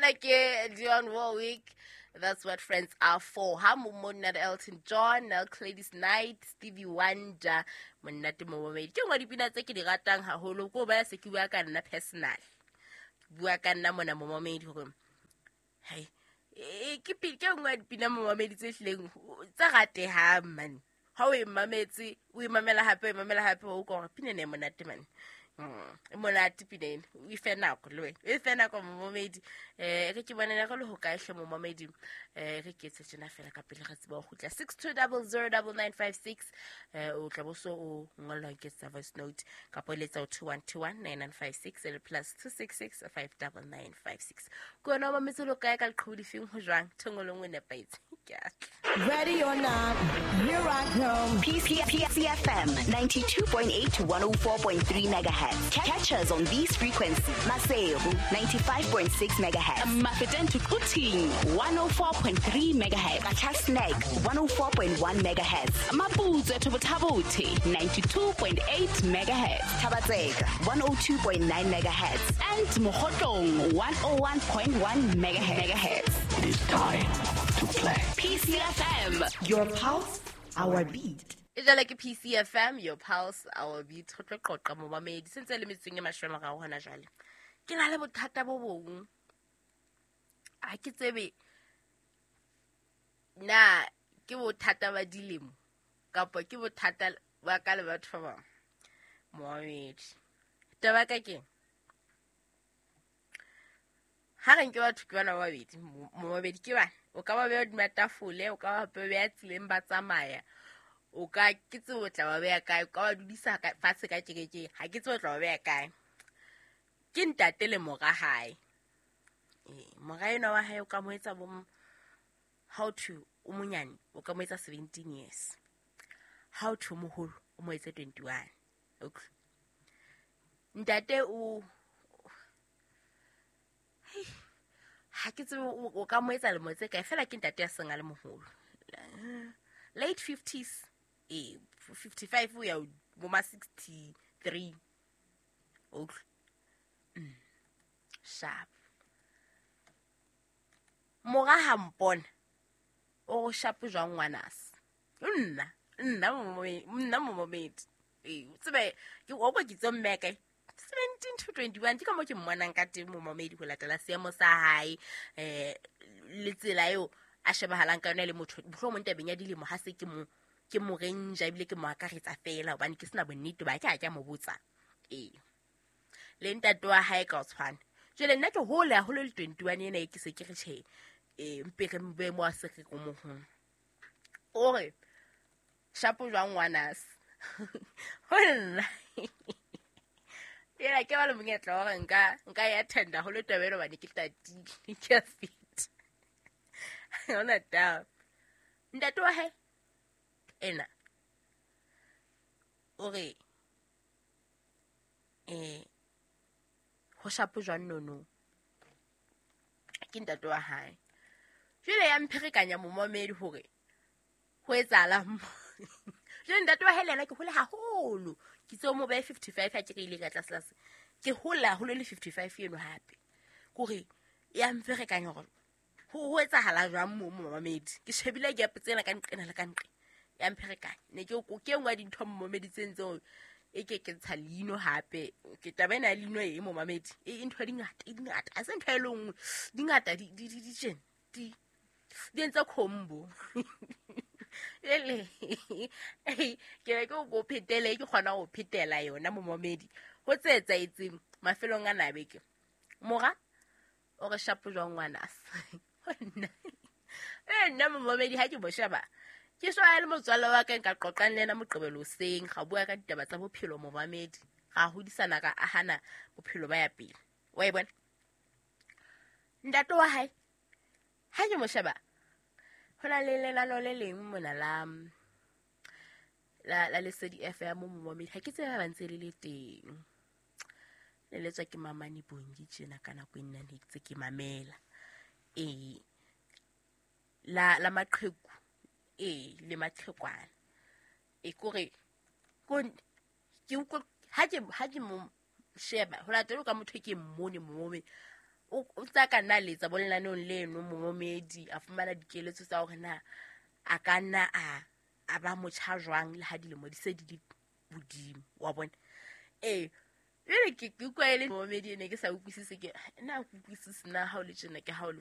Mona ke Dionne Warwick, That's What Friends Are For. Ha mo monna le Elton John, Gladys Knight, Stevie Wonder, monate momamedi. Ke nngwe dipina tse ke di ratang haholo, ko ba se ke bua ka nna personal. Ke bua ka nna mona momamedi hore hai ke ke nngwe ya dipina momamedi tse hlileng tse ratehang man. Ha o e mametse, o e mamela hape, o e mamela hape, o utlwa hore pina ena e monate man. E monate pina ena, o e fe nako le wena, o e fe nako momamedi. Re ke bonela re le ho kae hle momamedi. Re ke etse tjena fela ka pele re tseba ho kgutla. 62009956, o tla bo so o ngollwa ke tsa voice note kapa o letsa ho 21219956 le plus 266 59956. Ke wena o mametse lo kae ka leqhubu lefeng ho jwang? Thongo le nngwe nepahetse. Ke a tla. Ready or not, here I come. PCFM 92.8 to 104.3 megahertz. Catch us on these frequencies. Maseru 95.6 megahertz. Mafeteng to Quthing 104.3 megahertz. Qacha's Nek 104.1 megahertz. Maputswe to Botha-Bothe 92.8 megahertz. Thaba-Tseka 102.9 megahertz. And Mokhotlong 101.1 megahertz. It is time to play. PCFM, your pulse, our beat. E jwale ke PCFM, your pulse, our beat. Re tlo qoqa momamedi sentse le metsong e mashome a mararo hona jwale. Ke na le bothata bo bong. Ha ke tsebe na ke bothata ba dilemo kapa ke bothata ba ka le batho ba bang. Momamedi. Taba ka keng? Ha re nke batho ke bana ba babedi, momamedi ke bana. O ka ba beha hodima tafole, o ka ba beha tseleng ba tsamaya. O ka ke tsebe o tla ba beha kae, o ka ba dudisa fatshe ka kerekeng, ha ke tsebe o tla ba beha kae. Ke ntate le mora hae. Mora enwa wa hae o ka mo etsa bo how to o monyane, o ka mo etsa 17 years. How to moholo o mo etse 21. Okay. Ntate o ha ke tsebe o ka mo etsa lemo tse kae, fela ke ntate ya seng a le moholo. Late 50s, 55 o ya bo ma 63. Okay. Sharp. Mora ha mpona o go sharp jwang ngwanase. Nna momamedi. Tsebe ke o kwa ke tse mmeke 17 to 21 ke ka mo ke mmonang ka teng momamedi ho latela seemo sa hae, le tsela eo a shebahalang ka yona le motho mohlomong tabeng ya dilemo ha se ke mo renja ebile ke mo akaretsa fela hobane ke sena bonnete ba ke ha ke a mo botsa. Le ntate wa hae ka o tshwana. Jwale nna ke hole haholo le 21 ena e ke se ke re tjhe, mpe re mbe mo a se re ko mohong. O re shapo jwang ngwanase. Ho nna. Ela ke ba le monyetla wa hore nka ya tender haholo taba ena hobane ke tatile, ke a feta. Ha hona taba. Ntate wa hae ena o re ho shapo jwang nono. Ke ntate wa hae. Jwale ya mpherekanya momamedi hore ho etsahalang mo. Jwale ntate wa hae le yena ke hole haholo. Ke tseo mo behe 55 ha ke re ile ka tlase tlase. Ke hole haholo le 55 eno hape. Kore ya mferekanya hore ho etsahala jwang mo momamedi. Ke shebile gap tsena ka nqena le ka nqe. Ya mpherekanya. Ne ke ke nngwe ya dintho momamedi tse ntseng e ke ke ntsha leino hape. Ke taba ena ya leino e momamedi. E ntho di ngata, e di ngata. Ha se ntho e le nngwe. Di ngata di tjena. Di entse combo. Ele ke be ke o phetele, ke kgona ho phetela yona momamedi. Ho tse etsahetseng mafelong a na beke. Mora o re shapo jwang ngwanase. Nna momamedi ha ke bo sheba. Ke shwa le motswalle wa ka nka qoqang le yena Moqebelo hoseng, ra bua ka ditaba tsa bophelo momamedi. Ra hodisana ka ahana bophelo ba ya pele. Wa e bona? Ntate wa hae ha ke mo sheba, ho na le lenaneo le leng mona la Lesedi FM mo momamedi. Ha ke tsebe ba ntse le le teng. Le letswa ke Mamane Bongi tjena ka nako e nna ne ntse ke mamela. La maqheku, le maqhekwana. Kore ke utlwa ha ke mo sheba ho latela ka motho e ke mmone momamedi. O tsa ka nna letsa bo lenaneong leno momomedi a fumana dikeletso tsa hore na a ka nna a ba motjha jwang le ha dilemo di se di le hodimo, wa bona. Ee, jwale ke utlwa e le momomedi, e ne ke sa utlwisise, ke nna ke utlwisise na ha o le tjena ke ha o le.